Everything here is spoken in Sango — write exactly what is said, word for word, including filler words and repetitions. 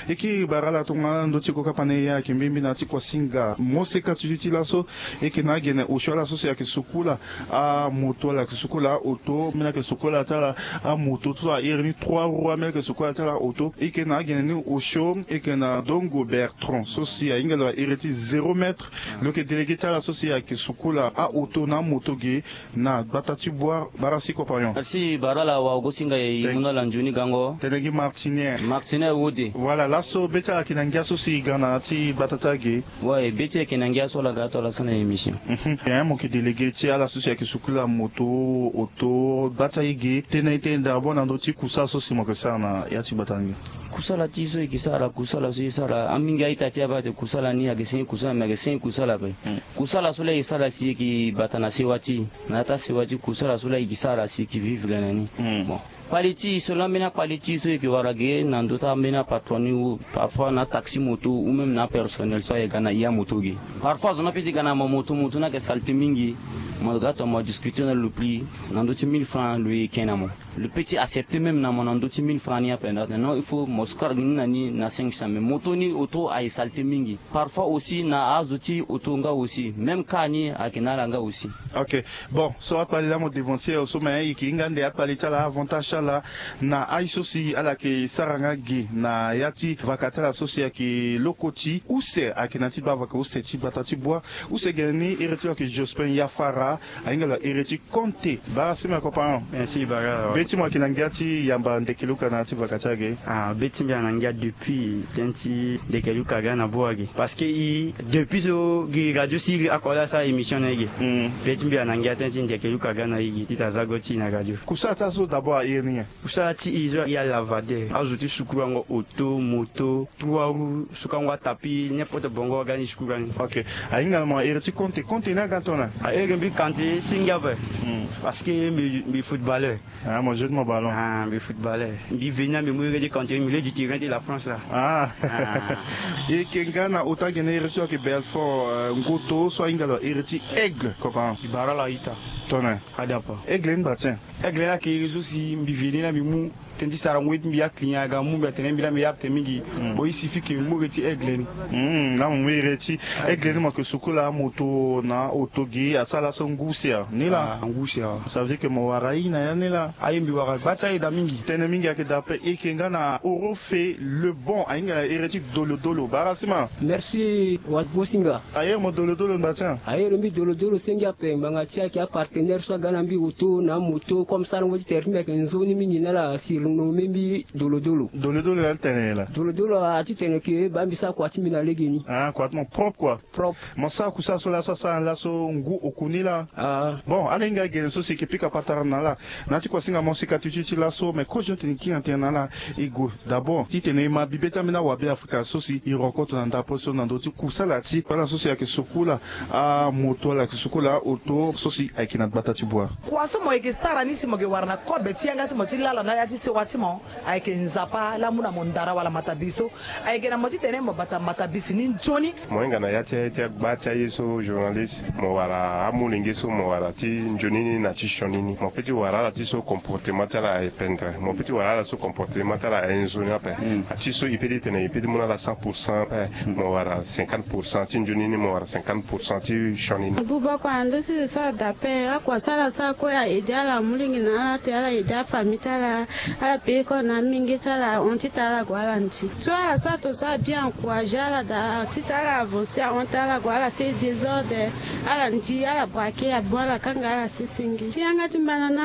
E kiri bara ala tongana ala ndö ti ko kapa na e ayeke mbimbi na ya ti kuasinga moseka ti duti laso. E yeke na agene osio ala so si ayeke sukula amoto, ala yeke sukula aoto, ambeni ayeke sukula ti ala amoto so a iri ni trois roues, ambeni ayeke sukula ti ala aoto. E yeke na agene ni osio e yeke na Dongo Bertrand so si ahinga lo a iri ti zéro mètre. Lo yeke délégué ti ala so si ayeke sukula aoto na amoto ge na gbata ti Bouar. Bara si compagnon. Merci bara ala wa ogosinga e. Thank- mu na ala nzoni gango. Tene gi Martinier. Martinier wode. Voilà, laso be ti ala yeke na ngia so si e ga na ya ti gbata ti age. Ouais, be ti e yeke na ngia so ala ga ato ala sara na émission. Mhm. Mo yeke délégué ti ala so si ayeke sukula moto, oto, gbata age, tene e tene d'abord na ndö ti kusala so si mo yeke sara na ya ti gbata ni. Kusala ti so e yeke sara, kusala so e sara, amingi a-ita ti e aba ate kusala ni ayeke senge kusala, me ayeke senge kusala ape. Mm. Kusala so laa e sara si e yeke bata na sewa ti e, na ya ti asewa ti kusala so laa e yeke sara si e yeke vivre na ni. Mm. Bon. Kpale ti e so laa ambeni akpale ti e so e yeke wara ge na ndö ti ambeni apatron ni ou parfois na ataxi moto ou même na apersonnel so aye ga na e amoto ge. Parfois zo ni ape ti ga na mo moto, moto ni ayeke saleté mingi. Mo ga tongana mo discuter na lo prix na ndö ti mille francs, lo yeke na mo. Lo peut ti accepter même na mo na ndö ti mille francs ni ape, non, il faut mo sukara gi ni na ni na cinq cents, mais moto ni oto aye saleté mingi. Parfois aussi na azo ti oto nga aussi, même car ni ayeke na ala nga aussi. Ok. Bon, so akpale laa mo devancer so, mais e yeke hinga ande akpale ti ala, avantage ti ala na aye so si ala yeke sara nga ge na ya ti vaka ti ala so si ayeke loko ti use, ayeke na ya ti baa vaka use ti gbata ti Bouar. Use gene ni iri ti lo ayeke Jospin Yafara, ahinga lo a iri ti Konte. Bara si me compagnon. Merci bara. Be ti mo ayeke na ngia ti yamba Ndekeluka na ya ti vaka ti age. Ah, be ti mbi ayeke na ngia depuis tënë ti Ndekeluka aga na Bouar ge. Parce que e depuis so gi radio siri oko laa asara émission na e ge. Mm. Be ti mbi ayeke na ngia tënë ti Ndekeluka aga na e ge titene aza go ti e na radio. Kusala ti ala so d'abord a iri ni nyen? Kusala ti e so a iri alavadeur, azo ti sukurango oto, moto, trois roues, sukango atapi, n'importe bongo aga ni sukura ni. Ok. Ahinga na mo a iri ti Konte, Konte ni aga tongana? A iri mbi Kante senge ape. Mm. Parce que mbi, mbi footballeur. Ah, mo joue ti mo ballon. Ah, mbi footballeur. Mbi veni na mbi mu iri ti Kante, milieu du terrain ti la France laa. Ah. Ah. E yeke nga na ota gene iri so ayeke Belfort, euh, Ngoto so ahinga lo a iri ti Aigle, compagnon. Mbi bara ala ita. Tongana? Adapa. Aigle ni bâ tien. Aigle ni ayeke iri so si mbi veni na mbi mu tënë ti sarango ye ti mbi, aclient aga mu mbi atene mbi laa mbi apte mingi. Mm. Bon, il suffit que mbi mu iri ti Aigle ni. Mm, na mo mu iri ti Aigle ni mo yeke sukula amoto na oto ge asara laso ngu si a ni laa. Ah, ngu si a. Ça veut dire que mo wara aye na ya ni laa. Aye mbi wara gba ti aye daa mingi. Tënë mingi ayeke daa ape. E yeke nga na Orofe Lebon, ahinga na iri ti Dolodolo. Bara si ma. Merci wa gosinga. A iri mo Dolodolo ni bâ tien? A iri mbi Dolodolo senge ape, ngbanga ti e ayeke apartenaire so aga na mbi oto na amoto, comme sarango ti tere ti mbi ayeke nzoni mingi na ala, surnommé mbi Dolodolo. Dolodolo ya ni tene nyen laa? Dolodolo a ti tene ke baa mbi sara kua ti mbi na lege ni. Ah, kua ti mo propre quoi. Propre. Mo sara kusala so laso asara ni laso ngu oku ni laa. Ah. Bon, ala hinga gene so si e yeke pika patara na ala. Na ya ti kuasinga moseka ti ti ti laso, me kozo ti tene e kiri na tënë na ala. E gue d'abord titene e ma bibe ti ambeni awabe Afrika so si e rencontre na ndapre so na ndö ti kusala ti ala so si ayeke sukula amoto, ala yeke sukula aoto so si ayeke na gbata ti Bouar. Kua so mo yeke sara ni si mo yeke wara na kobe ti yanga ti mo ti lala na ya ti sewa ti mo, ayeke Nzapa laa amu na mo ndara wala matabisi so. Ayeke na mo titene mo bata matabisi ni nzoni. Mo hinga na ya ti, ti agba ti aye so, journaliste, mo wara amolenge so mo wara ti nzoni ni na ti sioni ni. Mo peut ti wara ala ti so comportement ti ala aye pendre. Mo peut ti wara ala so comportement ti ala aye nzoni ape. Mm. Ati so e peut ti tene e peut ti mu na ala cent pour cent ape. Mm. Mo wara cinquante pour cent ti nzoni ni, mo wara cinquante pour cent ti sioni ni. Agu bako ando si sara dape, akua so ala sara kue a aider ala molenge na ala te, ala aider afamille ti ala. Ala payé kue na amenge ti ala, ahon ti tara ala gue ala nzi. So ala sara to so ala bien encourager ala daa ti tara ala avancer, ahon ti tara ala gue ala sara désordre, ala nzi, ala braquer, abon ala kanga ala sesenge. Ti yanga ti mbana na